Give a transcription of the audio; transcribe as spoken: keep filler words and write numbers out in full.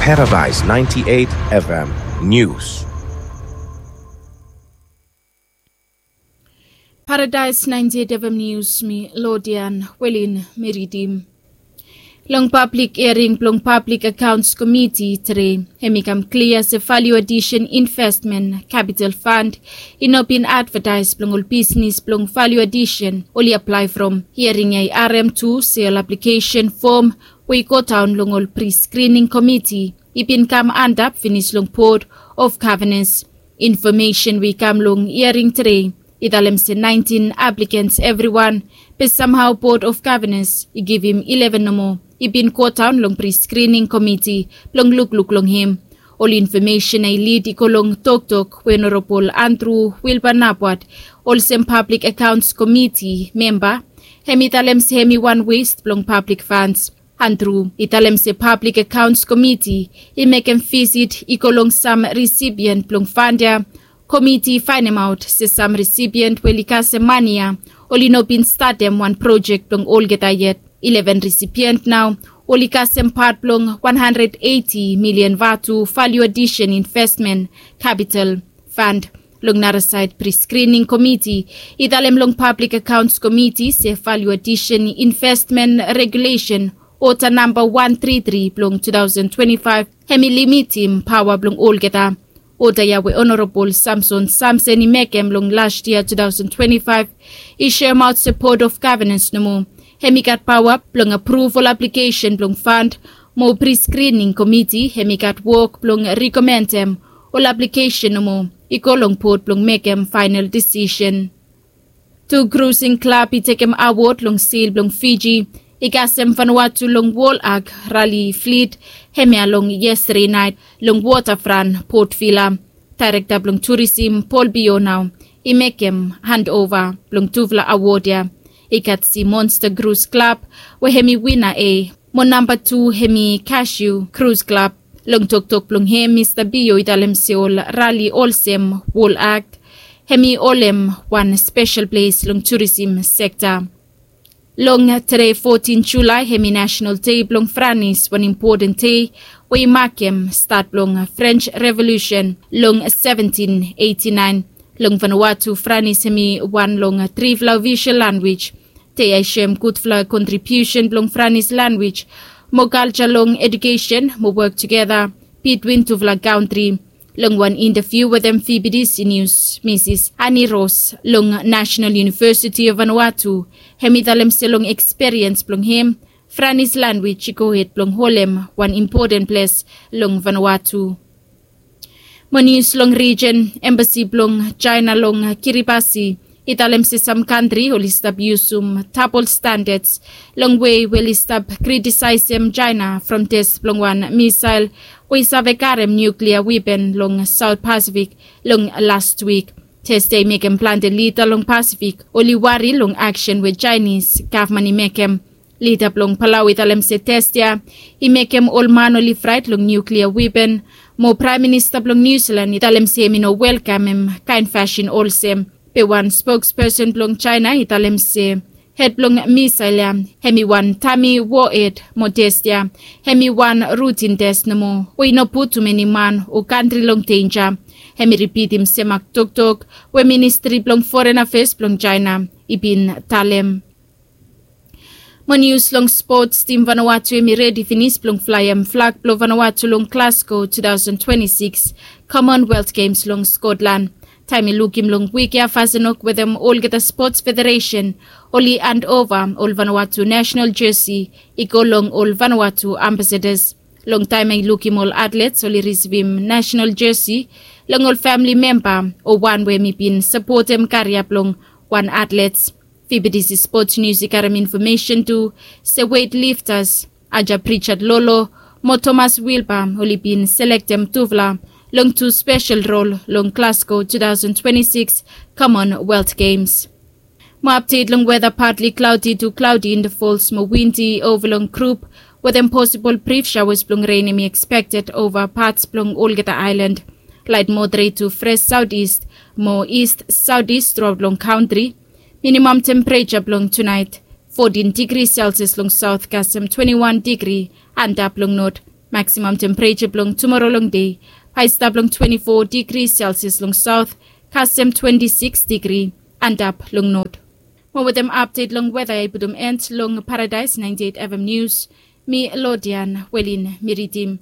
Paradise ninety-eight F M News. Paradise ninety-eight F M News, mi Lodian Welin mi ridim. Long pablik hiaring blong Pablik Akaons Komiti tre, hem i kam klia se Value Addition Investment Capital Fund i no bin advataes blong ol bisnis blong value addition oli aplae from. Hiaring ya i harem tu se ol aplikesen fom we i godaon long ol pre-screening komiti i bin kam antap finis long Board of Governors. Infomesen we i kam long hiaring tre i talem se naentin aplikens evriwan, be samhao Board of Governors i givim ileven nomo i bin godaon long pre-screening komiti blong lukluk long hem. Ol infomesen ya i lid i go long toktok we Honorabol Andrew Wilbur Napwat, olsem Pablik Akaons Komiti memba, hem i talem se hem i wan west blong pablik fans. Andrew i talem se Pablik Akaons Komiti i mekem visit i go long sam risipien blong fand ya. Komiti i faenemaot se sam risipien we oli kasem mane ya oli no bin statem wan projek blong olgeta yet. Ileven risipien nao oli kasem pat blong wan handred eiti milian vatu Value Addition Investment Capital Fund. Long narasaed, pre-screening komiti i talem long Pablik Akaons Komiti se Value Addition Investment Regulesen Ota namba wan tri tri blong tu taosen twenti-faef hem i limitim paoa blong olgeta. Ota ya we Honorabol Samson Samson i mekem long las yia tu taosen twenti-faef i soemaot se Board of Governors nomo hem i gat paoa blong apruv ol aplikesen blong fand, mo pre-screening komiti hem i gat wok blong rekomenem ol aplikesen nomo i go long bod blong mekem faenal disisen. Tu krusing klab i tekem awod long sel blong Fiji i kasem Vanuatu long Wol Ak Rali Flit hemia long yestede naet long Wotafran, Port Vila. Daerekta blong Turisim, Paul Bio, nao i mekem handova blong tufala awod ya. I gat Sea Monster Krus Klab we hem i wina A, mo namba tu hem i Cashew Krus Klab. Long toktok blong hem, Mista Bio i talem se ol rali olsem Wol Ak hem i holem wan spesel ples long turisim sekta. Long tede fotin Julae hem i Nasenal Dei blong Franis, wan impoten dei we i makem stat blong Frens Revolusen long seventin eiti naen. Long Vanuatu, Franis hem i wan long trifala ofisol lanwis. Dei ya i soem gudfala kontribiusen blong Franis lanwis mo kalja long edukesen mo wok tugeta bitwin tufala kantri. Long wan intaviu wetem V B D C News, Misis Annie Ross long Nasenal Univesiti of Vanuatu hem i talem se long ekspiriens blong hem, Franis lanwis i gohed blong holem wan impoten ples long Vanuatu. Mo nius long rijen, embasi blong Jaena long Kiribati i talem se sam kantri oli stap yusum dabol standats long wei we oli stap kritisaesem Jaena from tes blong wan misael we i save karem niuklia wepen long Saot Pasifik long las wik. Tes ya i mekem plante lida long Pasifik oli wari long aksen we Jaenis gavman i mekem. Lida blong Palau i talem se tes ya i mekem ol man oli fraet long niuklia wepen, mo Praem Minista blong Niu Silan i talem se hem i no welkamem kaen fasin olsem. Be wan spokspesen blong Jaena i talem se hed blong misael ya hem i wan dami wohed, mo tes ya hem i wan rutin tes nomo we i no put tumeni man o kantri long denja. Hem i ripitim semak toktok we Ministri blong Foren Afeas blong Jaena i bin talem. Mo nius long spots, tim Vanuatu hem i redi finis blong flaem flag blong Vanuatu long Glasgow tu taosen twenti sikis Commonwealth Games long Scotland. Taem i lukim long wik ya, fasin wok wetem olgeta spots federesen oli handova ol Vanuatu nasenal jesi i go long ol Vanuatu ambasadas. Long taem ya i lukim ol atlets oli risivim nasenal jesi long ol famili memba o wan we hem i bin sapotem karia blong wan atlets. V B D C Spots Nius i karem infomesen tu se weightliftas Aja Pritchard Lolo mo Thomas Wilbur oli bin selektem tufala long tu spesel rol long Glasgow tu taosen twenti sikis Commonwealth Games. Mo apdet long weda, partly cloudy to cloudy intervals mo windy ova long grup wetem posibol brif shaoas blong ren hem i ekspekted ova pats blong olgeta aelan. Laet moderet to fres saotis mo ist saotis truaot long kantri. Minimam tempereja blong tunaet, fotin digri Celsius long saot kasem twenti wan digri antap long not. Maksimam tempereja blong tumora long dei, bai i stap long twenti fo digri selsias long saot, kasem twenti sikis digri antap long not. Mo wetem apdet long weta ya i putum end long paradaes naenti eit evem nius. Mi lodian welin mi ridim.